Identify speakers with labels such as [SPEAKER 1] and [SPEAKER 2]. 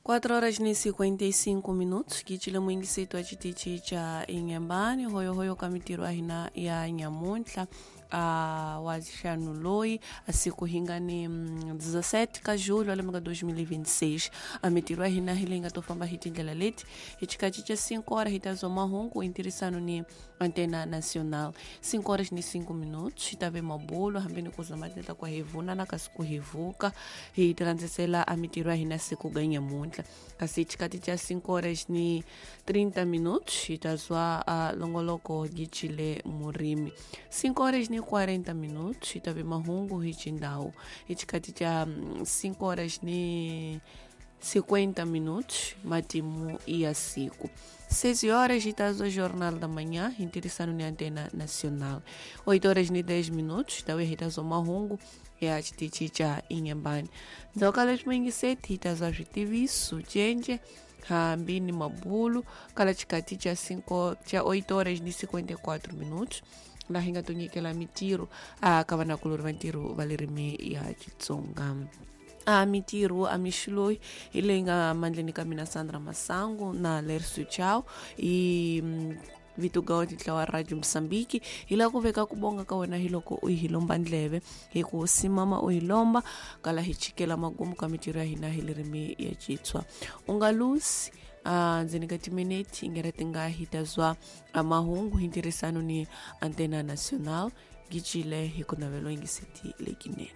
[SPEAKER 1] 4 horas ni 55 minutos kicile muingisetu wa xitichi xa Inhambane hoyohoyo ka mintirho ya hina ya nyamuntlha wa ntlhanu loyi a siku hi nga ni 17 ka julho lembe ka 2026. A mintirho ya hina hi leyi nga to famba hi tindlela leti: hi xikatsi xa 5 horas hi ta zwa mahungu hi ntirhisano ni Antena Nacional. 5 horas ni 5 minutos hi ta ve mabulo hambi ni ku zama tindlela ku hi vunana kasi ku hi vuka hi tirandzisela a mintirho ya hina siku ga nyamuntlha. Kasi xikati xa 5 horas ni 30 minutos hi ta zwa a longoloko gicile murimi. 5 horas ni 40 minutos hi ta ve mahungu hi xindhawu. Hi xikati xa 5 horas ni 50 minutos matimu ya siku. 6 horas hi ta zwa Jornal da Manhã hi ntirhisano ni Antena Nacional. 8 horas ni 10 minutos ta vuya hi ta zwa mahungu ya xitichi xa Inhambane. Ndzhaku ka leswi muyingiseti hi ta zwa switiviso cenje hambi ni mabulu kala xikati xa 5 xa 8 horas ni 54 minutos laha hi nga to nyikela mintirho a ka vanakulori va ntirho va ririmi ya Xitsonga. A mintirho a mixo loyi hi leyi nga mandleni ka mina Sandra Masangu na Lerso Chau hi vito ga ntlawa Radio Mozambique. Hi lava ku veka ku bonga ka wena hi loko u hi lomba ndleve hi ku simama u hi lomba kala hi chikela magumu ka mintirho ya hina hi ririmi ya Xitswa. U nga lusi ndzeni ka timinete ingera ti nga hi ta zwa mahungu hi ntirhisano ni Antena Nacional. Gicile hi ku navelo yingiseti lekinene.